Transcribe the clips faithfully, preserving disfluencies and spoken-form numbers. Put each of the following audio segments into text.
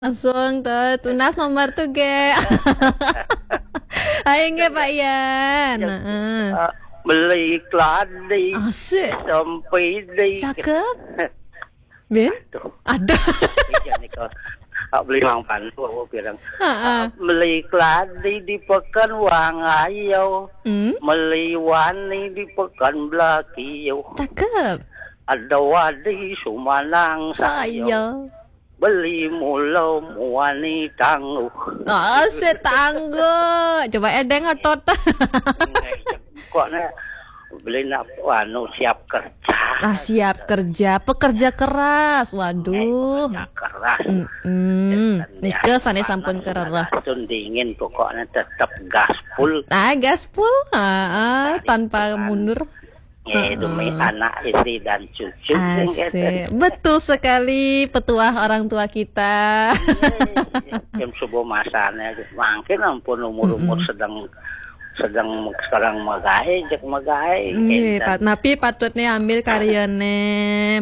Langsung tuh, tunas nomor tuh, ge. Ayo, nggak, Pak Yan? Heeh. Ah, beli keladi, Asik. Sempidi. Cakep. Bin? Tuh, Ada. Iya nih, kalau ah, beli Mang Pandu, aku bilang, Heeh. ah, beli keladi di Pekan Wangayau, Hmm? beli wani di Pekan Belakiu, Cakep. ada wadi Sumanang Sayo, Saya. Beli mula muani tangguh. Oh, setangguh. Coba edeng otot. Kok nih beli nak anu siap kerja. Ah, siap kerja, pekerja keras. Waduh. Kerja keras. Mm-mm. Nike sane sampun kerereh. Sun dingin pokoknya tetap gaspol. Ah, gaspol. Ah, ah, tanpa mundur. Ya, demi anak, istri dan cucu. Asik. Betul sekali, petuah orang tua kita. Jam subuh masanya, mungkin ampun umur-umur sedang sedang sekarang magae, cek magae. Nggih, Pak. Napi patutnya ambil karyane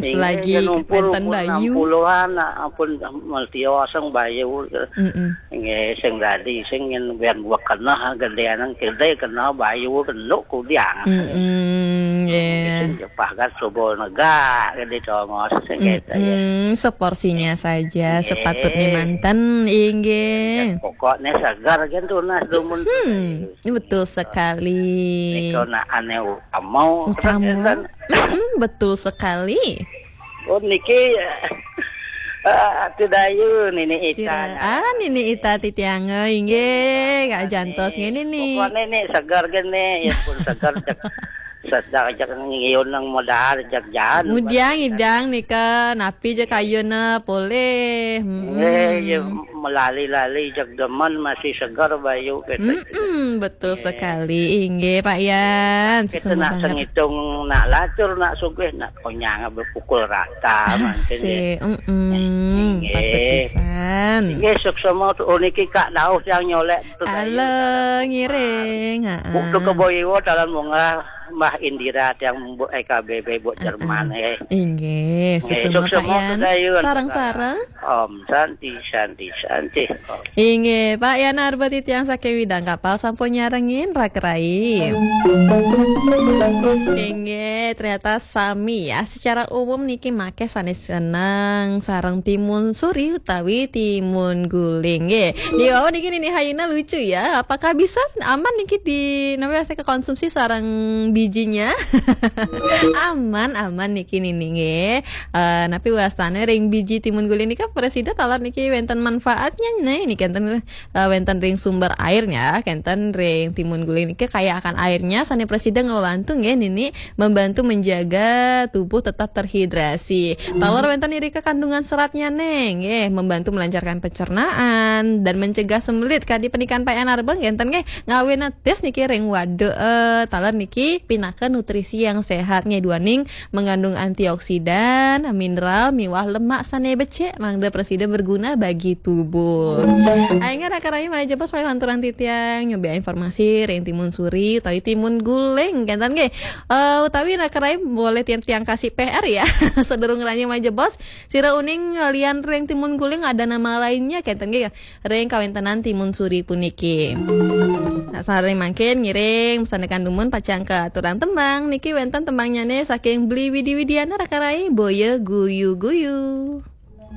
selagi wenten bayu. Puluhan, ampun, multioseng bayu. Mm-mm. Nggih, sing dadi sing yen ben buat keneh gedean gede keneh bayu kenduk kudiang. Mm-mm, nggih. Sing jepah kan subuh negak gede congos sing gitu ya. Mm-mm, seporsinya saja, sepatutnya manten, inggih. Pokoknya segar kan tunas dumun. Hmm, betul sekali. Kalau nak aneh utama, Utama. Mm-mm, betul sekali. Oh, niki eh, tidak ayu nini Ita. Ah, nini Ita titiang, inggih, Kak Jantos ngene nih. Pokoknya nih segar gini, ya pun segar cek sedang cek ngiun nang modal cek jalan. Mudiang idang nika, napi je kayuna polih. Mm-mm. Eh, ya melali-lali cek demen masih segar bayu gitu. Mm-mm, betul sekali. Inggih, Pak Yan. Kita Suksma nak banget. Ngitung nak lacur, nak sugih, nak konyang berpukul rata mungkin ya. Asik. Mm-mm. Inggih. Patut pisan. Nggih, suksma tuh. Oh, niki Kak Dauh yang nyolek tuh. Halo, ngiring. Heeh. Buk tuh ke Boiwo, dalam bunga Mbah Indira yang Bu E K B B, Bu Jerman, eh. Inggih, Nggih, suksma, Pak suksma Yan. tuh, Dayu. Sarang-sarang. Om Santi, Santi, Santi. Inggih, Pak Yan Arbet titiang saking Widang Kapal sampun nyarengin, Rak Rai. Inggih, ternyata sami ya. Secara umum niki make sanes seneng sareng timun suri utawi timun guling. Nggih. Di bawah niki nini Hayuna lucu ya. Apakah bisa aman niki di, namanya saya konsumsi sareng bijinya? Aman, aman niki nini nggih. Eh, napi wastane ring biji timun guling nika presida taler niki wenten manfaatnya nih. Niki wenten, eh, wenten ring sumber airnya, kenten ring timun guling niki kaya akan airnya, sane presida ngebantu nggih nini, membantu menjaga tubuh tetap terhidrasi. Taler wenten irika kandungan seratnya nih, nggih, membantu melancarkan pencernaan dan mencegah sembelit. Kadi penikan Pak Yan Arbet kenten nggih, ngawina tis niki ring waduk, eh, taler niki pinaka nutrisi yang sehat nggih, duaning mengandung antioksidan, mineral, miwah lemak sane becik, mangda presida berguna bagi tubuh. Aing Rak Rai malih jebos paling lanturang titiang nyoba informasi ring timun suri utawi timun guling kenten nggih. Eh, utawi Rak Rai boleh tiang-tiang kasih P R ya. Sedurung ranjing malih jebos, sira uning lian ring timun guling ada nama lainnya kenten nggih. Ring kawentenan timun suri puniki. Nah, sareng mangkin ngiring pesan dumun pacang katurang tembang niki wenten tembangnyane saking Beli Widi Widiana Rak Rai, Boya Guyu-guyu.